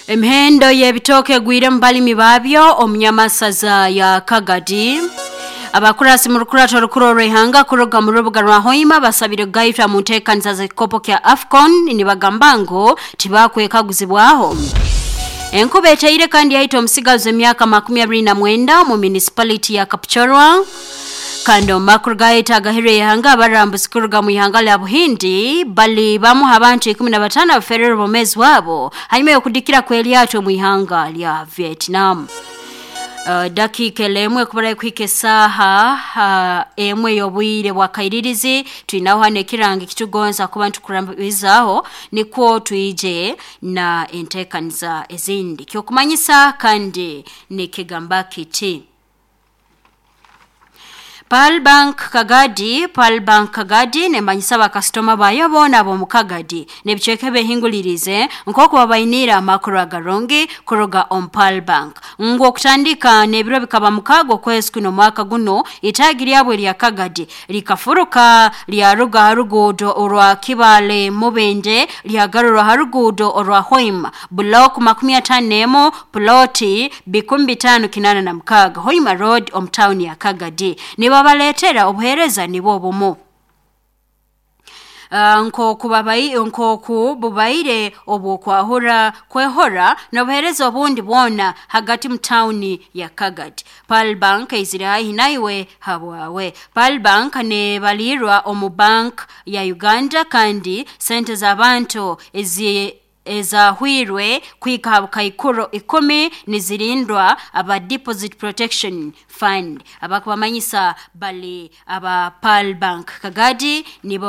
Emihendo y'ebitooke egwire mu balimi baabyo omu nyamasaza ya Kagadi. Abakurasi mu rukurato rukuru orw'ihanga kuruga mu rubuga rwa Hoima basabire kugaitwa mu nteekaniza z'ekikopo kya AFCON, nibagamba ngu tibakwekaguzibwaho. Enkuba eteire kandi yaita omusigazi w'emyaka 29 mu municipality ya Kapchorwa. Kandi omu makuru gaita agahirwe ihanga, abarambuzi kuruga mu ihanga lya Buhindi bali bamu abantu 15 abaferere obwomeezi bwabo hanyuma y'okudikira kw'eryato mu ihanga lya Vietnam. Dakiika emwe kubara kuhika esaaha 1 y'obwire bwa kairirizi, twinaho hano ekirango ekitugonza kuba nitukurambizaaho nikwo twije na enteekaniza ezindi. Kyokumanyisa kandi nikigamba kiti: Pearl Bank Kagadi, Pearl Bank Kagadi nemanyisa bakasitoma bayo boona ab'omu Kagadi n'ebicweka ebehingulirize nk'oku babainiire amakuru agarungi kuruga omu Pearl Bank, ngu okutandika n'ebiro bikaba 6 okwezi kuno omwaka guno, itaagi lyabo erya Kagadi likafuruka lyaruga ha ruguudo orwa Kibale Mubende lyagarurwa ha ruguudo orwa Hoima, Block 51, ploti 5586, Hoima Road, omu tawuni ya Kagadi. Nibabaleetera obuheereza nibwo obumu nk'oku nk'oku bubaire obw'okwahura kwehora n'obuheereza obundi bwona hagati mu tawuni ya Kagadi. Pearl Bank eizire haihi naiwe habwawe. Pearl Bank nebalirwa omu Bank ya Uganda, kandi sente z'abantu ezi ezahwirwe kuhika ha bukaikuro 10 nizirindwa aba Deposit Protection Fund. Abakubamanyisa bali aba Pearl Bank Kagadi nibo.